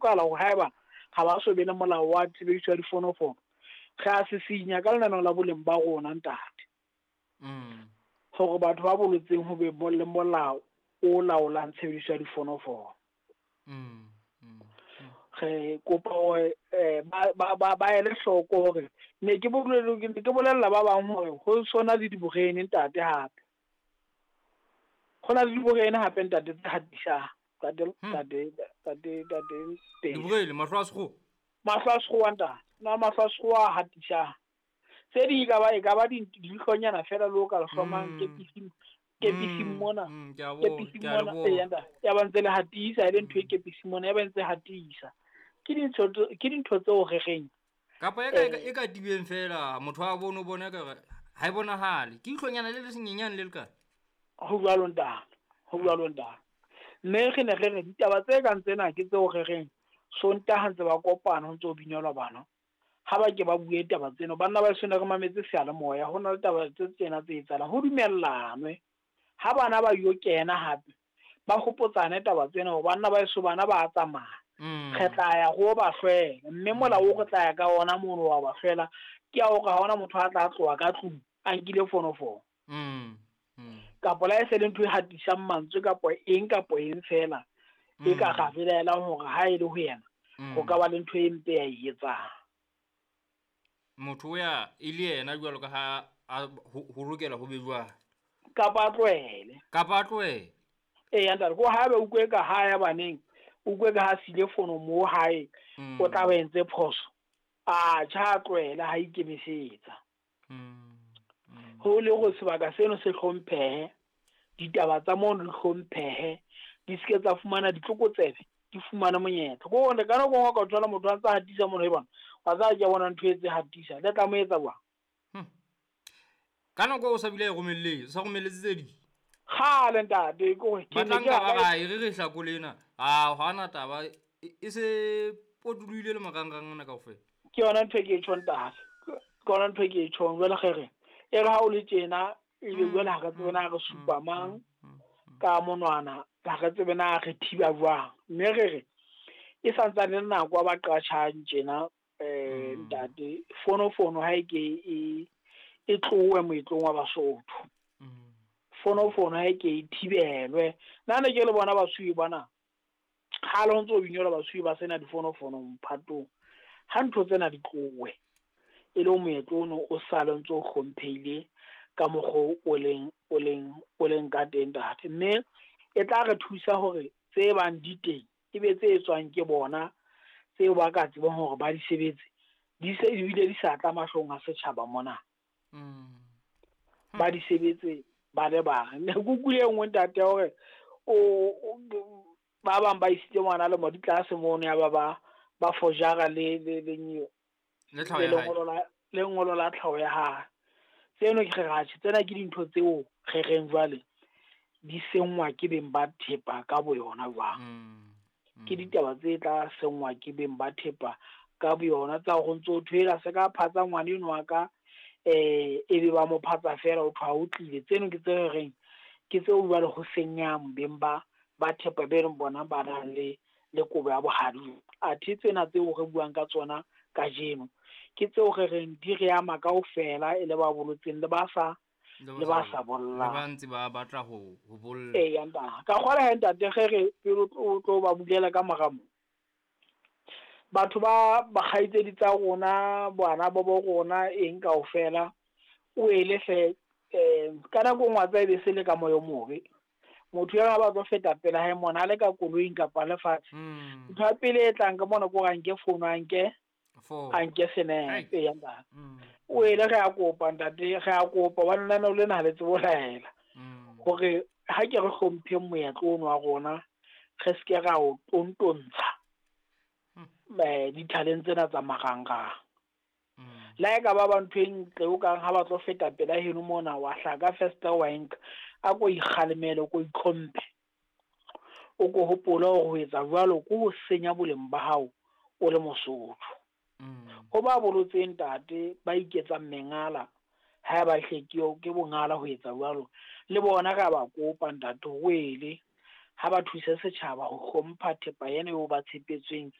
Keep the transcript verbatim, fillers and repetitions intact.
Hlokahala hore haeba ha ba so be le molao wa tshebediso ya difonofono, re a sisinya ka lenaneo la boleng ba rona ntate. Mm. Hore batho ba bolotseng ho be le molao o laolang tshebediso ya difonofono. Mm. Mm. Re kopa hore eh, ba ba ba ba ele hloko hore ne ke bolele ke bolella ba bang hore ho sona le diborene ntate hape. Ho na le diborene hape ntate tse hatisang. Ntate Hmm. ntate ntate ntate teng. Diborele mahlo a sekgowa. Mahlo a sekgowa ntate. Na mahlo a sekgowa a hatisang. Tse ding e ka ba e ka ba dihlonyana fela le o ka le hlomang Mm. kepising kepising Mm, mona. mm, ke a bona, Kepising ke a le mona bona. e ntate. Ya ba ntse le hatisa e le ntho e kepising mona ya ba ntse hatisa. Ke dintho ke dintho tseo re reng. Kapa e ka e ka e ka tibeng fela motho a bone o bone ka re ha e bonahale. Ke ihlonyana le le senyenyane le le kae? Ho jwalo ntate. Ho jwalo ntate. Mme re ne re re ditaba tse kang tsena ke tseo re reng Sontaha ntse ba kopana ho ntso ho binelwa bana. Ha ba ke ba bue taba tseno banna ba sone re mametse seyalemoya ho na le taba tse tsena tse etsahalang ho dumellanwe. Ha bana ba yo kena hape ba hopotsane taba tsena hore banna ba eso bana ba tsamaya. Mm. Re tla ya ho ba hlwela mme molao o re tla ya ka ona mono wa ba hlwela ke ya hore ha hona motho a tla tloha ka tlung a nkile fonofono. Mm. Mm. Kapa la e se le ntho e hatisang mantswe kapa eng kapa eng fela e ka Mm. ra belaelang hore ha e le ho yena Mm. ho ka ba le ntho e mpe ya e etsang. Motho o ya e le yena jwalo ka ha a ho ho lokela ho be jwalo. Kapa a tlohele. Kapa a tlohele. Eya ntate, ko haeba o utlwe ka ha ya baneng, o utlwe ka ha sile fono mo hae, Mm. o tla ba entse phoso. A tjha a tlohele ha ikemisetsa. Mm. Mm. Ho le hore sebaka seno se hlomphehe, ditaba tsa mono di hlomphehe, di seke tsa fumana ditlokotsebe, di fumane monyetla. Ko hore ka nako e nngwe o ka thola motho a ntsa hatisa mono e bona, wa tseba ke bona ntho e tse hatisa, le tla mo etsa jwang? Hmm. Ka nako o sa bile a e romelletse, o sa romelletse tse ding. Kgale ntate, ke hore ke Ba ne tla ke nka ba rata- kae re re hlakole ena. Ah, ha hona taba e e se potolohile le marangrang ana kaofela. Ke yona ntho e ke e tjhong ntate. Ke yona ntho e ke e tjhong jwale re re e re ha o le tjena ebe Mm, jwale ha re tsebe na re mm, supa mm, mang mm, mm. ka monwana, ha re tsebe na re thiba jwang. Mme re re e santsane le nako ya ba qatjhang tjena eh Mm. ntate fonofono ha e ke e e tlohe moetlong wa Basotho. Mm. Fonofono ha e ke e thibelwe. Nna ne ke le bona basuwe bana. Ha le ho ntso binelwa basuwe ba sena difonofono mphatong. Ha ntho tsena di tlohe e le moetlo ono o sale ntso o hlomphehile ka mokgwa o leng o leng o leng ka teng ntate. Mme e tla re thusa hore tse bang di teng ebe tse etswang ke bona tseo ba ka tsebang hore ba di sebetse di se ebile di sa tla mahlong a setjhaba mona. Mm. Ba di sebetse ba le bang. Ne ke utlwile e nngwe ntate ya hore o, o ba bang ba isitse ngwana le mo ditlase mono ya ba ba ba forjara le le le nyo Le tlhaho le ya hae. lengolo la lengolo la tlhaho ya hae. Tseno ke re atjhe tsena ke dintho tseo re reng jwale di senngwa ke beng ba thepa ka boyona jwang. Mm. Ke Mm. ditaba tse tla senngwa ke beng ba thepa ka boyona tsa hore ntso thwela se ka phatsa ngwana enwa wa ka eh ebe ba mo phatsa fela o thwa o tlile. Tseno ke tse re reng ke tseo jwale ho senyang beng ba ba thepa be leng bona ba nang le le kobo ya bohadi. Athe tsena tseo re buang ka tsona kajeno ke tseo re reng di re ama kaofela e le ba bolotseng le ba sa Le le ba sa bollang. Le bollang. ba ntse ba batla ho ho bolla. Eya ntate. Ka kgolwa he ntate ge re pele o tlo ba bulela ka mora mo. Batho ba bakgaitsedi tsa rona, bana ba bo rona eng kaofela o ele hle eh ka nako e nngwe wa tseba e be se le ka moya o mobe. Motho ya ba tlo feta pela hae mona a le ka koloing kapa le fatshe. Mm. Ntho ya pele e tlang ka mona ke hore a nke fono a nke Four. a nke senepe Ai. ya ntate. Mm. O ele re a kopa ntate, re a kopa hobane lenaneo lena ha le tsebe ho laela. Mm. Hore ha ke re hlompheng moetlo ono wa rona, re seke ra o tontontsha Hmm. eh dithaleng tsena tsa marangrang. Mm. Le ha e ka ba ba ntho e ntle o kang ha ba tlo feta pela heno mona wa hlaka first wa nka, a ko ikgalemele, o ko itlhomphe. O ko hopole hore ho etsa jwalo ke ho senya boleng ba hao o le Mosotho. Mm. Ho ba bolotseng ntate ba iketsang mengala ha ba hle ke yo, ke bongala ho etsa jwalo le bona re a ba kopa ntate ho ele ha ba thuse setjhaba ho hlompha thepa ena eo ba tshepetsweng.